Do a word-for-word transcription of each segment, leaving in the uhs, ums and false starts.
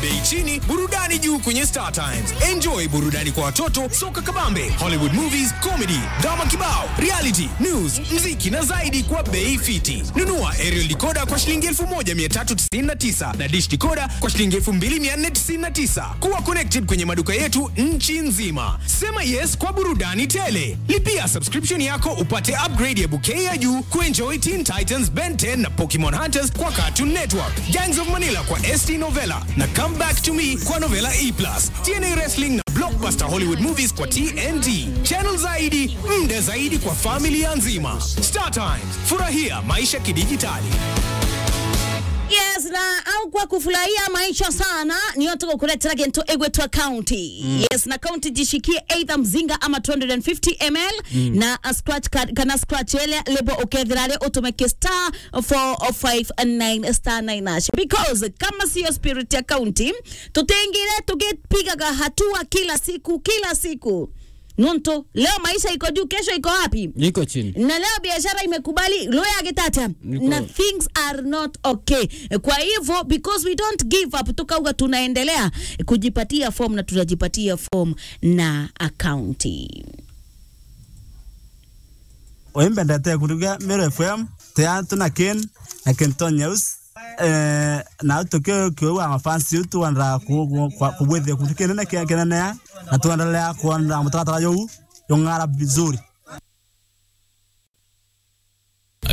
Bei chini, burudani juu kwenye Star Times. Enjoy burudani kwa watoto, soka kabambe, Hollywood movies, comedy, drama kibao, reality, news, mziki na zaidi kwa bei fiti. Nunua aerial decoder kwa shilingi elfu moja mia tatu tisini na tisa na dish decoder kwa shilingi elfu mbili mia nne tisini na tisa. Kuwa connected kwenye maduka yetu nchi nzima. Sema yes kwa burudani tele. Lipia subscription yako upate upgrade ya bouquet ya juu kuenjoy Teen Titans, Ben ten na Pokemon Hunters kwa Cartoon Network, Gangs of Manila kwa S T Novella na Come Back to Me kwa Novella E plus, T N A Wrestling na blockbuster Hollywood movies kwa T N T. Channel zaidi, muda zaidi kwa familia nzima. Star Times, furahia maisha kidijitali. Yes, na au kwa kufurahia maisha sana, nio tugukuretera gintu igwitwa county. Yes, na county jishikie either mzinga ama two hundred and fifty M L, na a scratch card, kana scratch ile lebo ukethira ari utumeke star four five nine star nine hash. Because kama sio spirit ya county, tutingire tugipigaga hatua kila siku, kila siku. Nontu leo maisha iko juu, kesho iko wapi? Iko chini. Na leo biashara imekubali, leo yagitatia. Iko. Na things are not okay. Kwa hivyo, because we don't give up, tukauga tunaendelea kujipatia form na tutajipatia form na akaunti. Uyu mbendete kuruga Meru F M, te antu na Ken, na Kenton News. Eh, na tukiu kiu wa mafans yu tuenda ku-, ku-, kwa-, kubwithia kuntu kinene kia kinene, na tuendelea kuona mutaratara juu jung'ara vizuri.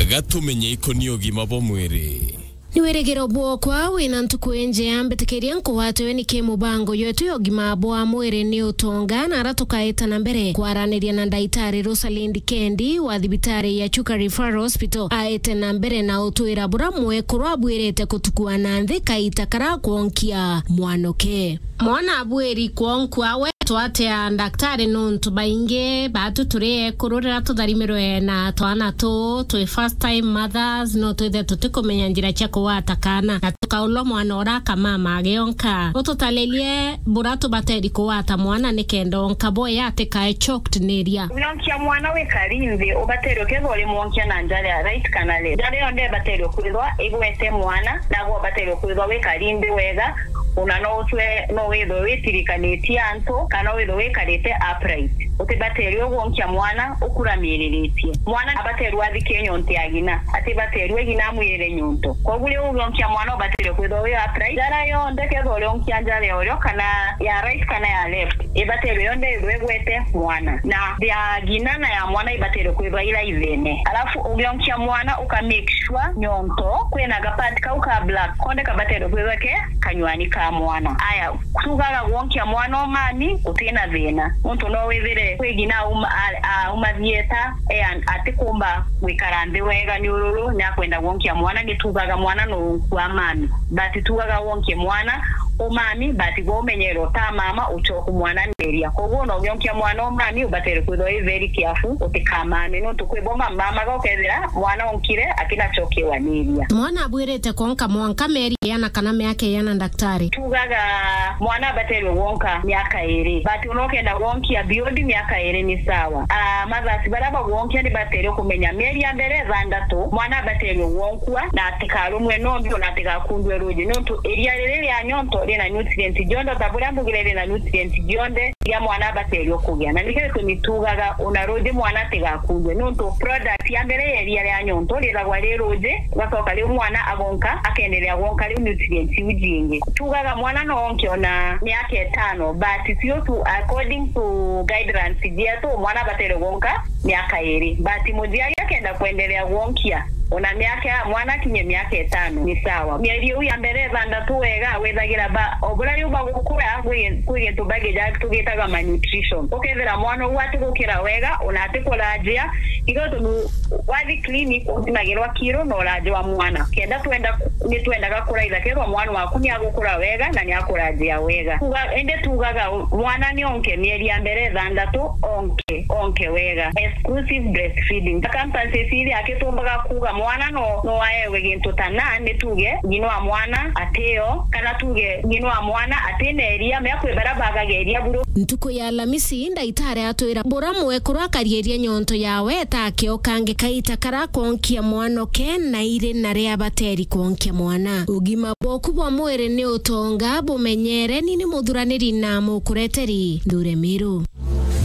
Gatumenye ikoni ugima bwa mwiri. Ni wirigiro bwokwa wina ntuku injea, mbitikiria nkugwatwe ni ki mubango yetu ya ugima bwa mwiri ni utonga, na ara tukaita na mbere kwaraniria na ndaitari Rosalind Kendi wa thibitari ya Chuka Referral Hospital, aite na mbere na utwira bura mwekuru abwirite kutukua na nthi kaita kara kwonkia mwanuke. Mwana abwiri kwonkua we twatea ndaktari nontu baingi batu turi ekuru rira tutharimirwe na twana tu twi first time mothers, no twithe tutikumenya njira cia kugwata kana, na tukaulwa mwana ura akamama agionka. Ututaririe bura tubateri kugwata mwana nikenda onka boya atikae choked ni iria. Ugionkia mwana wikari nthi, ubaterwe kethwa urimwonkia na njara ya right kana left. Njara iyo ndebaterwe kwithwa igwete mwana, nagwe ubaterwe kwithwa wikari nthi wega, ona no utwe, no withwe witirikanitie antu, kana withwe wikarite upright. Utibaterwe ugwonkia mwana ukuramiriritie. Mwana abaterwe athikie nyonte ya ng'ina, atibaterwe ng'ina amwirire nyonto. Koguo riu ugionkia mwana ubaterwe kwithwa wi upright. Njara yonthe kethwa urionkia njara ya urio kana ya right kana ya left, ibaterwe yonthe ithwe igwete mwana. Na ya ng'ina na ya mwana ibaterwe kwithwa ila ithene. Alafu ugionkia mwana uka make sure nyonto kwina ga pad kau ka black konde kabaterwe kwithwa ke kanywani ka mwana. Aya, tugaga gwonkia mwana o mami utina thina. Nontu no withire kwi ng'ina auma, a-, auma thieta, e, an-, atikumba gwikara nthi wega ni ururu, ni akwenda gwonkia mwana, ni tugaga mwana no nkua mami. But tugaga wonkie mwana o mami, but gwe umenyere uta mama, uchoku mwana neria. Koguo no ugionkia mwana o mami, ubatere kwithwa wi very careful, utikamame, nontu kwi bo mamamaga ukethira mwana onkire atinachokiwa niria. Mwana abwirite kwonka mwanka meri iana kana miaka iana, ndaktari? Tugaga mwana abaterwe gwonka miaka iri, but unokenda gwonkia beyond miaka iri ni sawa. Ah, mothers baria bagwonkia ni baterwe kumenya mieri ya mbere ithantatu mwana abaterwe gwonkua na atikarumwe nombi ona atigakundwe ruji, nontu iria riri ria nyonto rina nutrient cionthe, ta buria mbugire rina nutrient cionthe iria mwana abaterwe kugia. Na nikio gitumi tugaga ona ruji mwana atigakundwe, nontu product ya mbere ya iria ria nyonto rithagwa ri ruji, ugacoka riu mwana agonka, akenderea gwonka riu nutrient iu jingi. Tugaga mwana no onke ona miaka itano, but tio tu, according to guidelines cietu, mwana abatere gwonka miaka iri. But muciari akenda kwenderea gwonkia ona miaka, mwana akinye miaka itano, ni sawa. Mieri iu ya mbere ithantatu wega, withagira ba, o buria riu bagukura, kwi, kwi gintu bagija-, tugitaga malnutrition. Ukethira mwana uu atigukira wega, ona atikuranjia, igo tunu wathi clinic uthimagirwa kiro na uranji wa mwana. Kenda twenda, ni twendaga kuraitha kethwa mwana waku ni agukura wega na ni akuranjia wega. Kuga, indi tugaga mwana ni onke mieri ya mbere ithantatu, onke, onke wega. Exclusive breastfeeding. Circumstances iria akitumbaga kuga mwana no, no aewe gintu ta na, ni tuge ng'ina wa mwana atio, kana tuge ng'ina wa mwana atina iria, mea kwi baria bagaga iria buru. Ntuku ya Alamisi, ndaitari atwira bura mwekuru akarieria nyonto yawe ta akeo kangi kaita kara kwonkia mwanoke na iri na ria bateri kwonkia mwana. Ugima bwoku bwa mwiri ni utonga, bumenyere, ni ni muthuraniri na mukureteri Nthure Miru.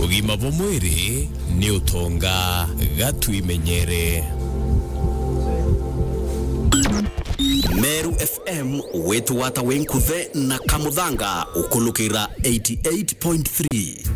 Ugima bwa mwiri ni utonga, ga twimenyere. Meru F M, witwata wi nkuthe na kamuthanga, ukulukira eighty-eight point three.